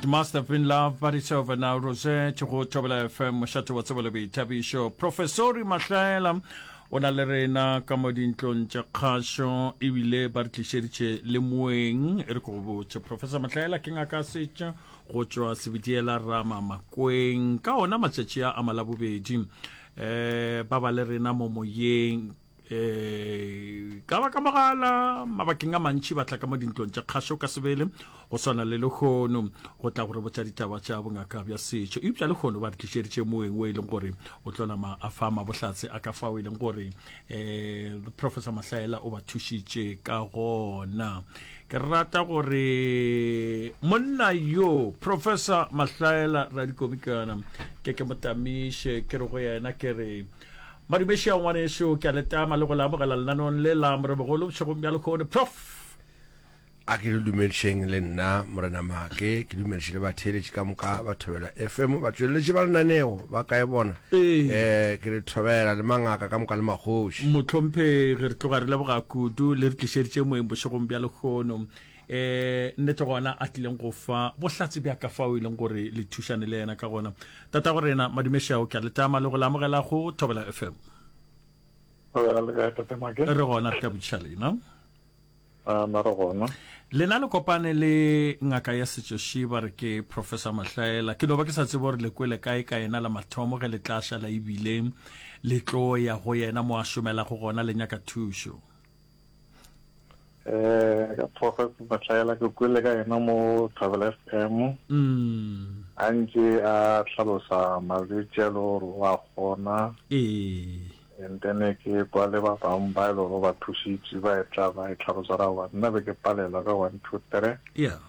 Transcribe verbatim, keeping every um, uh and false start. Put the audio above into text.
It must have been love, but it's over now. Rosette go Thobela F M, mošate wa tsebo le boithabišo. Professori Mahlaela o na le rena ka mo dintlong tša kgašo, ebile ba re tlišeditše le moeng. E re ko go botše, Professor Mahlaela ke ngaka setša go tšwa Sebediela Rama Makweng. Ka ona matšatši a a Malabobedi um ba ba le rena mo moyeng um ka ba ka mogala. Mabakeng a mantši ba tla ka mo dintlong tša kgašo ka sebele, go swana le lekgono, go tla gore botša ditaba tša bongaka bja setšo. Eupša lekgono ba re tlišeditše moeng o e leng gore o tlo nama a fa mabohlatse a ka fao e leng gore um Professor Mahlaela o ba thušitše ka gona. Ke rata gore monna yo, Professor Mahlaela Radikomikana, ke ke motamiše, ke re go yena, ke re madumeši a ngwanešo, ke a letama le go le amogela lenaneong le la Morebogolo bošegong bja lekgone, Prof. A ke le dumedišeng le nna Morena Make, ke dumediše le batheeletši ka moka ba Thobela F M, batšweletši ba lenaneo ba kae bona? Ee. um ke le thobela le mangaka ka moka le magoši. Mohlomphegi, re tloga re leboga kudu le re tlišeditše moeng bošegong bja lekgono. um nnete gona a tlileng go fa bohlatse bja ka fao e leng gore le thušane le yena ka gona. Tata go rena, madumešao, ke a letama le go le amogela go Thobela F M. Thobela, le kae, tate Make? Re gona, re ka botšiša lena. A na re gona. Lena le kopane le ngaka ya setšoši ba re ke Professor Mahlaela. Ke no ba ke sa tsebe gore le kwele kae ka yena la mathomo ge le tla šala ebile le tlo ya go yena mo a šomelago gona le nyaka thušo. Eh ka Professor Mahlaela ke kwele ka yena mo Thobela F M. Mm. A ntse a hlalosa malwetši a le gore o a kgona. Ee. And then ke kwa le ba bangwe ba e le gore ba thusitse ba e tla ba e tlhalosa ra wa nna be ke palelwa ka one two three. Yeah.